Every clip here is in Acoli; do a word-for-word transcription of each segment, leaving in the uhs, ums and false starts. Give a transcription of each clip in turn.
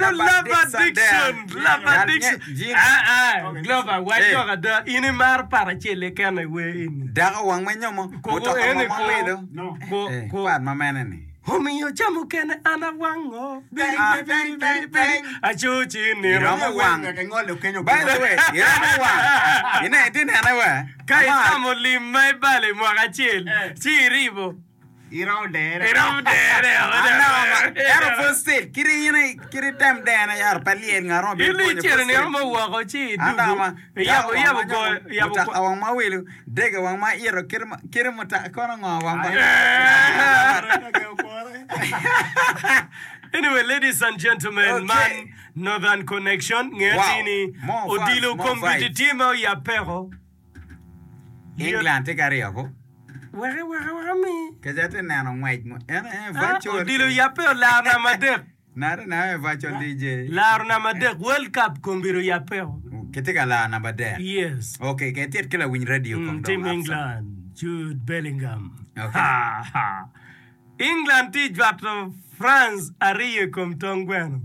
Eno love addiction, love addiction. Ah ah, Glover, wac lok ada, in imaro pat acel keken i wer eni. Dako wang me nyomo, mutoka mo ma wilo. Ko, ko. Pat ma mene ni. Omiyo ca mukene an awango. Biri, biri, biri, biri. Acoci nino. Iromo wang. By the way, iromo wang. Ine, iti nene we. Ka itamo lim ma ibalo i mwaka acel, ci iribo. Iromo dere. Iromo dere. Ento pud still, kit in kit item dene yaro pe lyel ngat mo bino In pwonyo icito pud nino still. mo woko ci An dako idugu. ma Iyabo dako wang iyabo ma go nyomo, iyabo mutoka ko. wang ma wilo, dege wang ma ito, kit ma kit mutoka kono ngo wang ma. Anyway, ladies and gentlemen, Okay. man Northern Connection nge Wow. tini More fans, odilo more komiti vibes. tye ma oyab peko. England tye ka aryo ko. Weke weke weke mi. Keca tye neno ngwec mo. En en Ah, virtual. odilo oyabbe olaro namba adek. Nade na virtual D J. Laro namba adek World Cup kombiro oyabbe. Kitye ka laro namba adek. Yes. Okay, ke tit ki lawiny radio Mm, kong team dong. England, Jude Bellingham. Okay. Ha, ha. England tye jwato France aryo i kom tong gweno.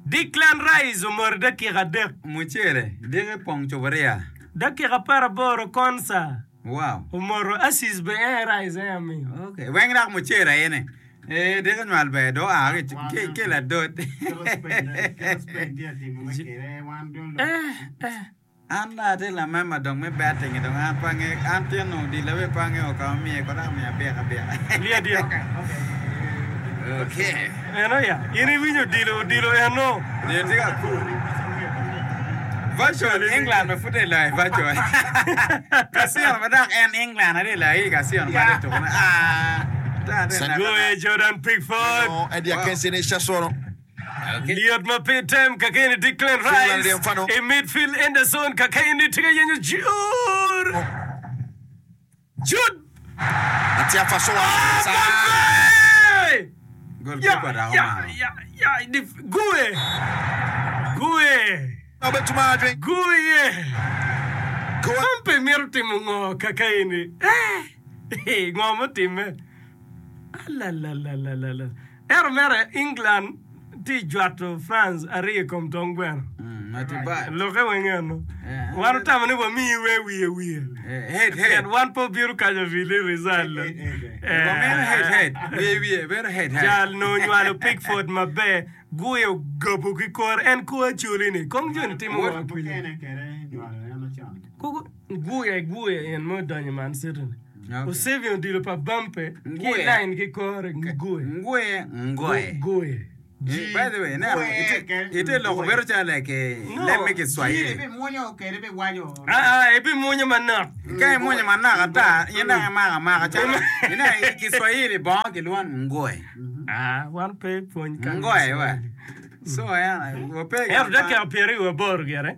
Declan Rice omoro dakika adek. Mucere, diki pong cuburia. Dakika apar aboro Konsa Wow. omoro assist be en Rice en amiyo. Okay, weng dak mucere ayene. Eh, diki nywal ber do a ki ki ki ladot. Eh, eh. An la ati la member dong me betting dong an pange an tino di lawe pange o ka miye ko da miya bika bika. Lia dia. Okay. Eno ya, in iwinyo odilo odilo eno. Ni tika cool. Virtual England me fute la virtual. Casino ma dak en England ade la i casino ma de to. Ah. Ta de na. Goye Jordan Pickford. No, Eddie Akensi ne hyɛ soɔ no. Liot ma pe tem kakeni Declan Finland Rice. deɛ mfa no. I midfield Henderson kakeni tika yenyo Jude. Jude. Ate afa so wa saa. Mbappe! Goalkeeper da Ya, ma. ya, ya, dif- Gue. Gue. Na ɔbɛtuma adwen. Gue. Goal. Mbappe mito timo ngo kakeni. Eh, ngo mutime. Alalalalala. Ero mere England ti jwato France aryo i kom tong gweno. Mm, not too bad. Loke weng eno. Eh. Wan otamo ni wamiyi we wiye wiye. Eh, head head. Pien wan pe obiro kanyo vili result. Wameno head head. Wiye wiye bedo head head. Jal no onywalo Pickford maber, guyo ogobo ki kore, en kor acholi ni. Kong joni timo ngo akwija. Koko guye guye en mo donyo Man City ni. Okay. Osevio odilo pa Bampe ki Nguye. line ki kore nguye. Nguye ngoye. Guye. Eh, By the way, now ite ite loko bedo chalo like eh, No. let me Kiswahili. Ah ah, ebi munyo manok. Ka imunyo manok ata, in dok imako amaka calo ine i Kiswahili bongo kilwongo ngoye. Ah, wan pe pwony kan. Ngoye wa. So en wape Ento dakika pyeri wiye aboro gire.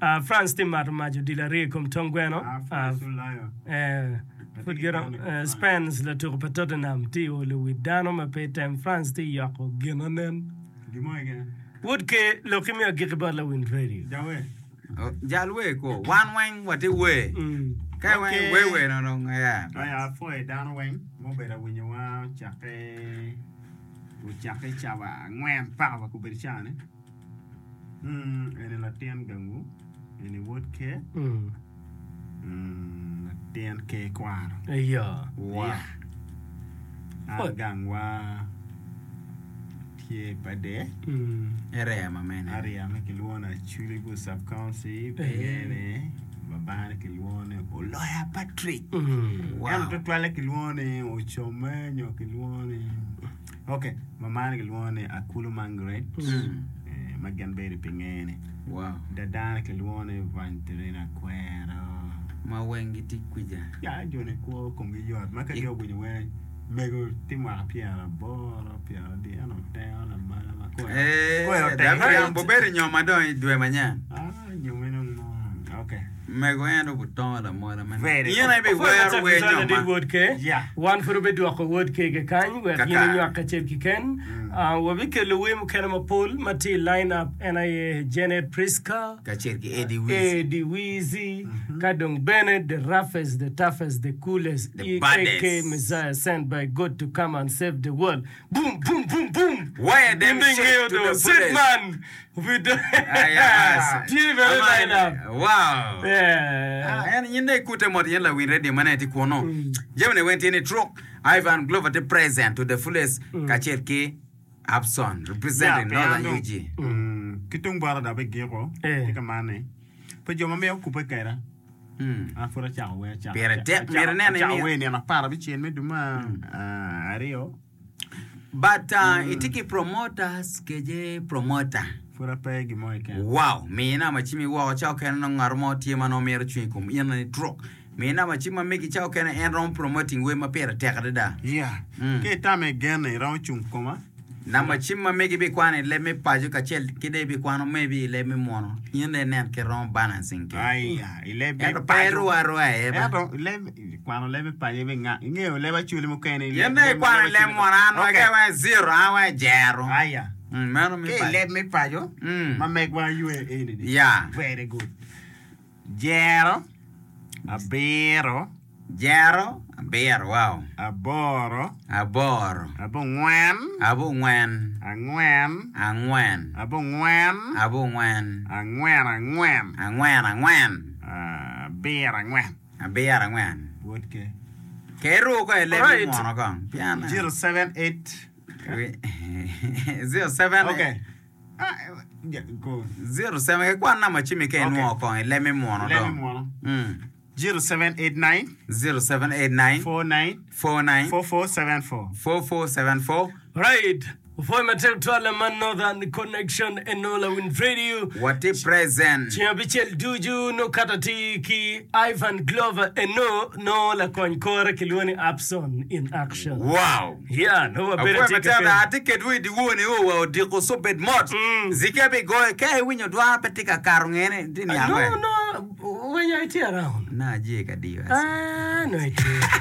Ah, France tye mato mac odilo aryo i kom tong gweno. Ah, eh, pud giro eh, Spence latuko pa Tottenham tye olo wi dano ma pe tem France tye yoko gin anen. Wod ke loki mi agiki bot lawiny radio. Jal we ko wan weng wati we. Mm. Ka weng Okay. we we no no yeah. Aya apwoyo dano weng mubedo awinyowa ocakke ocakke cawa angwen paka wa kobedo caa-ni. Mm, eni latin gangu eni wod ker Mm. mm, latin ker kwaro Iyo. Wow. An gangwa tye Pader. Mm. Area ma mene. Area me kilwongo ni Acholi sub county pingene babane kilwongo ni Oloya Patrick. Mm. Wow. Ento tutwalle kilwongo ni Ocome nyo kilwongo ni ok mamane kilwongo ni Akulu Margaret. Mm. Eh, ma gin bedo pingene. Wow. Dadane kilwongo ni Evangelina Kwero. Ma weng gitye kwija. Ya joni kwo komgi yot ma ka gin owinyo weng mego tye mwaka pyeraboro pyeradi ento teo lamala ma kore Eh, kore da oteng. bobedo nyoma dong i dwe manyen. Ah, nyome dong mo. Okay. Mego en obutongo lamola man. Very In aye biwero wer Adit nyoma. wod ke. Yeah. Wan pud obedwoko wod ke kekany wek Kaka. in inywak kacel kiken. Uh, wabikelo wer mukene mapol ma tye i line up en aye Janet Priska, Kacel ki Eddie Weezy. Eddie Weezy, ka dong bene the roughest, the toughest, the coolest, The E A K baddest. Messiah sent by God to come and save the world. Boom, boom, boom, boom. Wire them In shit the to the do fullest. sit man. We do. Ah, yes. Tye bene line up. Wow. Yeah. Ah, en in dong ikute mot yen lawiny radio ma ne tye kunu. Jamine weng tye ni truk. Ivan Glover tye present to the fullest kacel ki Abson representing Northern U G. Ki tung bota dok bigiko Eh. tye ka man ni pe jo ma mito kubbe kweda Mm. an pud acako wer acako Pire tek, acako- myero inene acako ni- wer nino apar abicel me dwe me ah, aryo. But uh, itye ki promoters keje promoter. Pud ape gin mo keken. Wow, mi namba cim woko ca okene nongo ngat mo tye ma nongo mito cwiny i kom in ni truk. Mi namba cim ma megi ca okene en romo promoting wer ma pire tek adada. Yeah. Mm. Ki itamo igene iromo cung koma. Namba cim ma megi bikwano i leb me paco kacel ki dong ibikwano maybe i leb me muno. In dong inen kit romo balancing ki. Aya, i leb me Ento pe paco. irwo arwa iye ba. Ento leb kwano leb me paco ibi nga ingeyo leb acoli mukene i Yen leb dong leb ikwano i leb acoli- muno an Okay. wek weng zero an weng jero. Aya. Mm, meno me Ki i paco. leb me paco Mm. ma megwa ywe eni ni. Yeah. Very good. Jero abiro Jero abiro wow. Aboro Aboro. abongwen Abongwen. angwen Angwen. abongwen Abongwen. angwen angwen Angwen angwen. abiro angwen. Abiro angwen. Wod ke. Ke iruko ko i leb me Alright. muno kong. Pian. Zero seven eight. Zero seven. Okay. Ah, yeah, go. Zero seven. Ke kwan namba cim ke Okay. inwongo kong i leb me muno Leb me dong. muno. Mm. Zero seven eight nine Zero seven eight nine four nine four nine four four seven four. four four seven four. Right. Opwoyo matek twal man Northern Connection Enola Win Radio. Watye present. Ceng abicel ducu no kato atir ki Ivan Glover eno no lakony kore kilwongo ni Abson in action. Wow. Yeah, no wabedo Apwoyo tye matek ka da atye kedwu i dyewor-ni o wa odiko so bed mot. Mm. Zike bigoyo ka iwinyo dwara pe tye ka kato ngene tye niang No, we. no, when you itye around. Na aje ka diyo. Ah, no itye.